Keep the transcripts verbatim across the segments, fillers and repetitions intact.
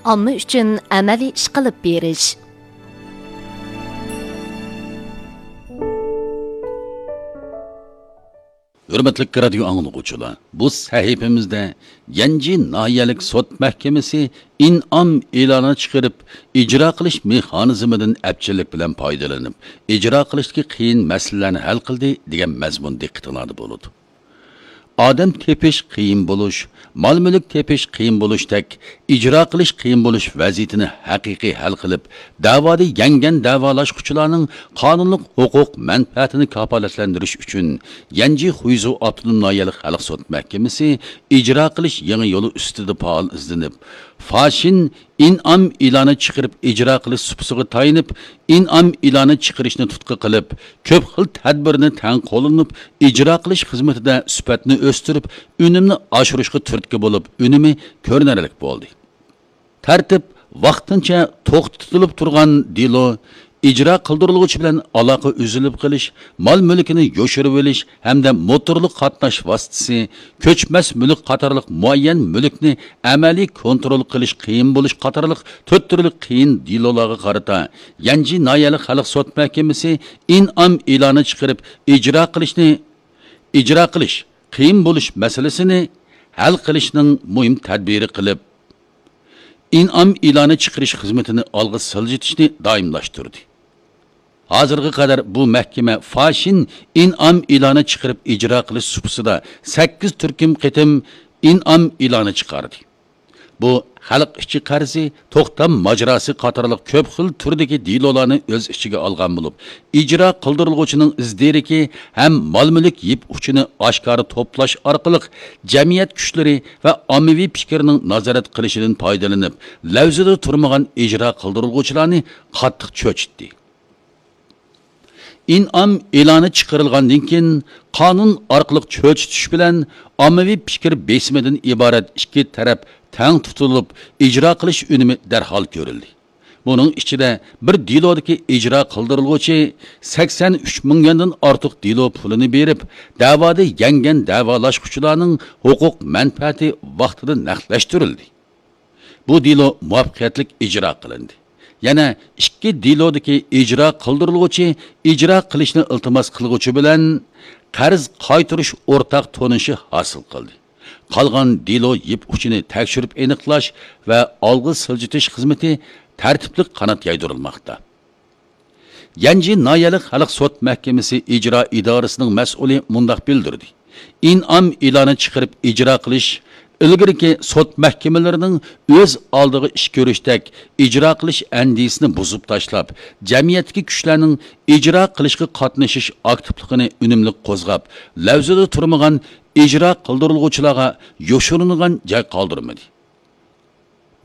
ئامما ئۈچۈن ئەمەلىي ئىش قىلىپ بېرىش. ھۆرمەتلىك رادىيو ئاڭلىغۇچىلار، بۇ سەھىپىمىزدە يەنجى ناھىيەلىك سوت مەھكىمىسى ئىنئام ئېلانى چىقىرىپ، ئىجرا قىلىش مېخانىزمىدىن ئەپچىللىك بىلەن پايدىلىنىپ، ئىجرا قىلىشتىكى قىيىن مەسىلىلەرنى ھەل قىلدى، دېگەن مەزمۇن دىققىتىڭلاردا بولىدۇ. ئادەم تېپىش قىيىن بولۇش، مال-مۈلۈك تېپىش قىيىن بولۇشتەك، ئىجرا قىلىش قىيىن بولۇش ۋەزىيىتىنى ھەقىقىي ھەل قىلىپ، دەۋادا يەڭگەن دەۋالاشقۇچىلارنىڭ قانۇنلۇق ھوقۇق مەنپەئەتىنى كاپالەتلەندۈرۈش ئۈچۈن، يەنجى خۇيزۇ ئاپتونوم ناھىيەلىك خەلق سوت مەھكىمىسى ئىجرا قىلىش يېڭى يولى ئۈستىدە پائال ئىزدىنىپ، فاشىن ئىنئام ئېلانى چىقىرىپ ئىجرا قىلىش سۇپىسىغا تايىنىپ، ئىنئام ئېلانى چىقىرىشنى تۇتقا قىلىپ، كۆپ خىل تەدبىرنى تەڭ قوللىنىپ، ئىجرا قىلىش خىزمىتىدە سۈپەتنى ئۆستۈرۈپ، ئۈنۈمنى ئاشۇرۇشقا تۈرتكە بولۇپ، ئۈنۈمى كۆرۈنەرلىك بولدى. تەرتىپ ۋاقتىنچە توختىتىلىپ تۇرغان دېلو، ئىجرا قىلدۇرۇلغۇچى بىلەن ئالاقە ئۈزۈلۈپ قېلىش، مال-مۈلكىنى يوشۇرۇۋېلىش ھەمدە موتورلۇق قاتناش ۋاسىتىسى، كۆچمەس مۈلۈك قاتارلىق مۇئەييەن مۈلۈكنى ئەمەلىي كونترول قىلىش قىيىن بولۇش قاتارلىق تۆت تۈرلۈك قىيىن دېلولارغا قارىتا يەنجى ناھىيەلىك خەلق سوت مەھكىمىسى ئىنئام ئېلانى چىقىرىپ ئىجرا قىلىشنى، ئىجرا قىلىش قىيىن بولۇش مەسىلىسىنى ھەل قىلىشنىڭ مۇھىم تەدبىرى قىلىپ، ئىنئام ئېلانى چىقىرىش خىزمىتىنى ئالغا سىلجىتىشنى دائىملاشتۇردى. ھازىرغا قەدەر بۇ مەھكىمە فاشىن ئىنئام ئېلانى چىقىرىپ ئىجرا قىلىش سۇپىسىدا سەككىز تۈركۈم قېتىم ئىنئام ئېلانى چىقاردى. بۇ خەلق ئىچى قەرزى، توختام ماجىراسى قاتارلىق كۆپ خىل تۈردىكى دېلولارنى ئۆز ئىچىگە ئالغان بولۇپ، ئىجرا قىلدۇرۇلغۇچىنىڭ ئىز دېرىكى ھەم مال-مۈلۈك يىپ ئۇچىنى ئاشكارا توپلاش ئارقىلىق جەمئىيەت كۈچلىرى ۋە ئاممىۋى پىكىرنىڭ نازارەت قىلىشىدىن پايدىلىنىپ، لەۋزىدە تۇرمىغان ئىجرا قىلدۇرۇلغۇچىلارنى قاتتىق چۆچۈتتى. ئىنئام ئېلانى چىقىرىلغاندىن كېيىن، قانۇن ئارقىلىق چۆچۈتۈش بىلەن ئاممىۋى پىكىر بېسىمىدىن ئىبارەت ئىككى تەرەپ تەڭ تۇتۇلۇپ، ئىجرا قىلىش ئۈنۈمى دەرھال كۆرۈلدى. بۇنىڭ ئىچىدە بىر دېلودىكى ئىجرا قىلدۇرۇلغۇچى سەكسەن ئۈچ مىڭ يۈەندىن ئارتۇق دېلو پۇلىنى بېرىپ، دەۋادا يەڭگەن دەۋالاشقۇچىلارنىڭ ھوقۇق مەنپەئەتى ۋاقتىدا نەقلەشتۈرۈلدى. بۇ دېلو مۇۋەپپەقىيەتلىك ئىجرا قىلىندى. يەنە ئىككى دېلودىكى ئىجرا قىلدۇرۇلغۇچى ئىجرا قىلىشنى ئىلتىماس قىلغۇچى بىلەن قەرز قايتۇرۇش ئورتاق تونۇشى ھاسىل قىلدى. قالغان دېلو يىپ ئۇچىنى تەكشۈرۈپ ئېنىقلاش ۋە ئالغا سىلجىتىش خىزمىتى تەرتىپلىك قانات يايدۇرۇلماقتا. يەنجى ناھىيەلىك خەلق سوت مەھكىمىسى ئىجرا ئىدارىسىنىڭ مەسئۇلى مۇنداق بىلدۈردى: ئىنئام ئېلانى چىقىرىپ ئىجرا قىلىش ئىلگىرىكى سوت مەھكىمىلىرىنىڭ ئۆز ئالدىغا ئىش كۆرۈشتەك ئىجرا قىلىش ئەندىزىسىنى بۇزۇپ تاشلاپ، جەمئىيەتتىكى كۈچلەرنىڭ ئىجرا قىلىشقا قاتنىشىش ئاكتىپلىقىنى ئۈنۈملۈك قوزغاپ، لەۋزىدە تۇرمىغان ئىجرا قىلدۇرۇلغۇچىلارغا يوشۇرۇنغان جاي قالدۇرمىدى.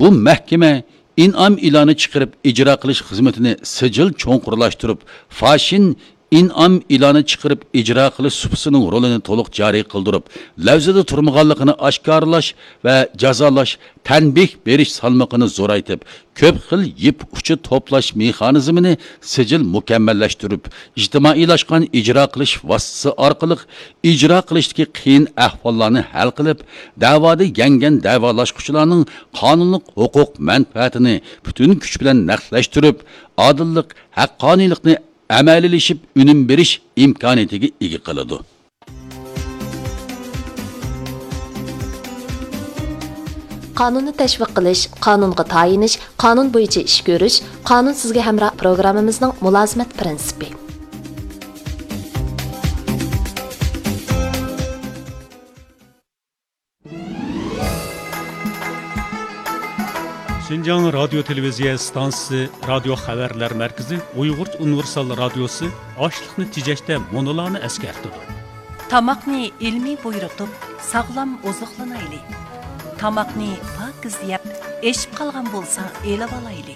بۇ مەھكىمە ئىنئام ئېلانى چىقىرىپ ئىجرا قىلىش خىزمىتىنى سىجىل چوڭقۇرلاشتۇرۇپ، فاشىن ئىنئام ئېلانى چىقىرىپ ئىجرا قىلىش سۇپىسىنىڭ رولىنى تولۇق جارى قىلدۇرۇپ، لەۋزىدە تۇرمىغانلىقىنى ئاشكارىلاش ۋە جازالاش، تەنبىھ بېرىش سالمىقىنى زورايتىپ، كۆپ خىل يىپ ئۇچى توپلاش مېخانىزمىنى سىجىل مۇكەممەللەشتۈرۈپ، ئىجتىمائىيلاشقان ئىجرا قىلىش ۋاسىتىسى ئارقىلىق ئىجرا قىلىشتىكى قىيىن ئەھۋاللارنى ھەل قىلىپ، دەۋادا يەڭگەن دەۋالاشقۇچىلارنىڭ قانۇنلۇق ھوقۇق مەنپەئەتىنى پۈتۈن كۈچ بىلەن نەقلەشتۈرۈپ، ئادىللىق، ھەققانىيلىقنى ئەمەلىيلىشىپ ئۈنۈم بېرىش ئىمكانىيىتىگە ئىگە قىلىدۇ. قانۇننى تەشۋىق قىلىش، قانۇنغا تايىنىش، قانۇن بويىچە ئىش كۆرۈش، قانۇن سىزگە ھەمراھ پروگراممىمىزنىڭ مۇلازىمەت پىرىنسىپى. شىنجاڭ رادىيو تېلېۋىزىيە ئىستانسىسى رادىيو خەۋەرلەر مەركىزى ئۇيغۇرچە ئۇنىۋېرسال رادىيوسى ئاشلىقنى تېجەشتە مۇنۇلارنى ئەسكەرتىدۇ. تاماقنى ئىلمىي بۇيرۇتۇپ، ساغلام ئوزۇقلىنايلى. تاماقنى پاكىز يەپ، ئېشىپ قالغان بولسا ئېلىۋالايلى.